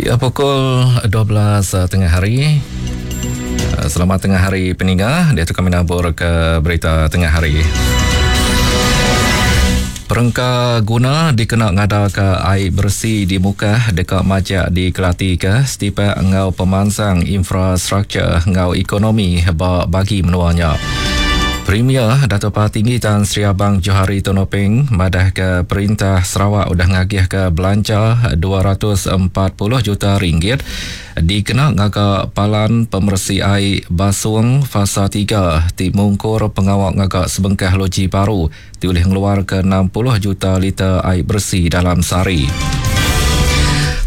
Ya pukul 12 eh, tengah hari. Eh, selamat tengah hari peninga. Dia tu kami nabur ke berita tengah hari. Perengka guna dikena ngadaka ai beresi di Mukah deka majak dikelatika setipak enggau pemansang infrastruktur enggau ekonomi ba bagi menua nya. Premier Datuk Patinggi Tan Sri Abang Johari Tun Openg madahka perintah Sarawak udah ngagihka belanja 240 juta ringgit dikena ngaga palan pemeresi ai Basung Fasa tiga ti mungkur pengawa ngaga sebengkah loji baru ti ulih ngeluarka 60 juta liter ai beresi dalam sehari.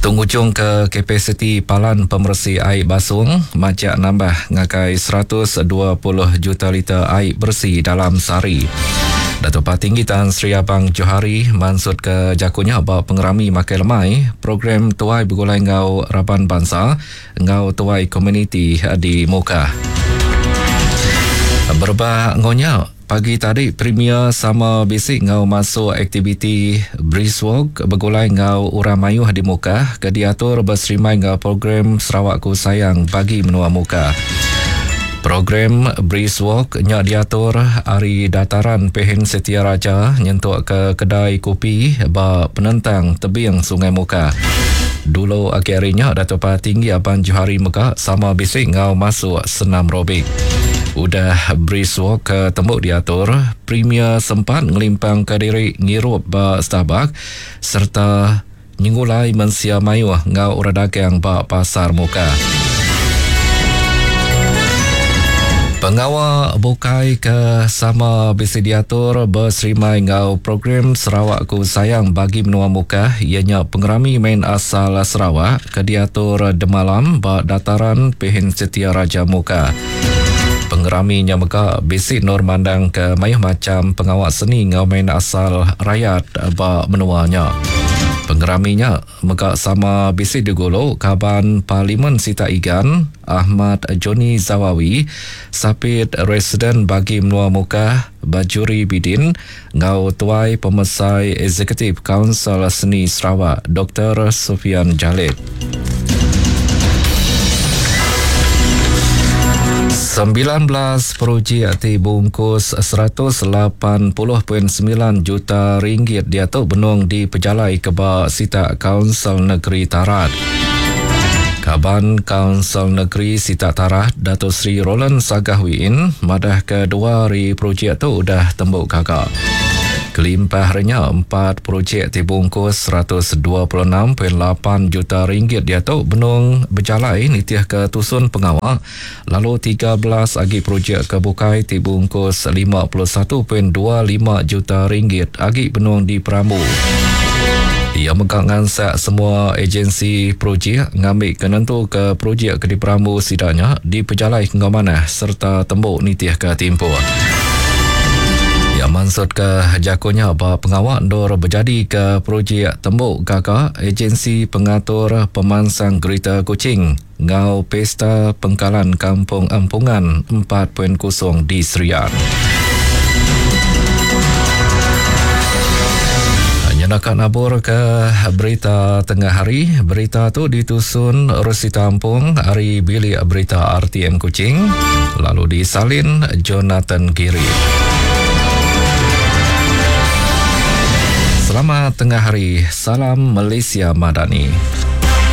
Tu ngujungka kapasiti palan pemeresi ai Basung majak nambah ngagai 120 juta liter ai beresi dalam sehari. Datuk Patinggi Tan Sri Abang Johari mansutka jaku nya ba pengerami makai lemai program Tuai Begulai Enggau Raban Bansa enggau Tuai Komuniti di Mukah. Berebak enggau nya, Pagi tadi Premier sama bisi enggau masuk aktiviti Brisk Walk begulai enggau orang mayuh di Mukah ke diatur beserimbai enggau program Sarawakku Sayang Bagi Menua Mukah. Program Brisk Walk nya diatur ari Dataran Pehin Setia Raja nyentuk ke kedai kopi ba penentang tebing Sungai Mukah. Dulu agi ari nya Datuk Patinggi Abang Johari mega sama bisi enggau masuk senam robik. Udah brisk walk ke tembu diatur, Premier sempat ngelimpangka diri ngirup ba Starbucks sereta nyengulai mensia mayuh enggau orang dagang ba Pasar Mukah. Pengawa bukai ke sama bisi diatur beserimbai enggau program Sarawakku Sayang Bagi Menua Mukah iya nya Pengerami Main Asal Sarawak ke diatur demalam ba Dataran Pehin Setia Raja Muka. Pengerami nya mega bisi endur mandangka mayuh macham pengawa seni enggau main asal rayat ba menua nya. Pengerami nya mega sama bisi digulu Kaban Parlimen Sitak Igan, Ahmad Johnie Zawawi, Sapit Residen Bagi Menua Mukah, Bajuri Bidin, enggau Tuai Pemesai Eksekutif Kaunsil Seni Sarawak Doktor Sufian Jalib. 19 projek ti bungkus 180.9 juta ringgit diatu benung dipejalaika ba sitak Kaunsil Negeri Tarat. Kaban Kaunsil Negeri Sitak Tarat, Dato Sri Roland Sagah Wiin madahka dua ari projek tu udah tembu gaga. Kelimpah ari nya, empat projek ti bungkus 126.8 juta ringgit diatu benung bejalai nitihka tusun pengawa lalu 13 agi projek ke bukai ti bungkus 51.25 juta ringgit agi benung diperambu. Iya mega ngansak semua agensi projek ngambika nentuka projek ke diperambu sida nya dipejalaika enggau manah sereta tembu nitihka timpuh. Iya mansutka jaku nya ba pengawa endur bejadika projek tembu gaga Agensi Pengatur Pemansang Greater Kuching enggau Pesta Pengkalan Kampung Empungan 4.0 di Serian. Nyenaka nabur ke berita tengah hari. Berita tu ditusun Rosita Ampung ari Bilik Berita RTM Kuching lalu disalin Jonathan Giri. Selamat tengah hari. Salam Malaysia Madani.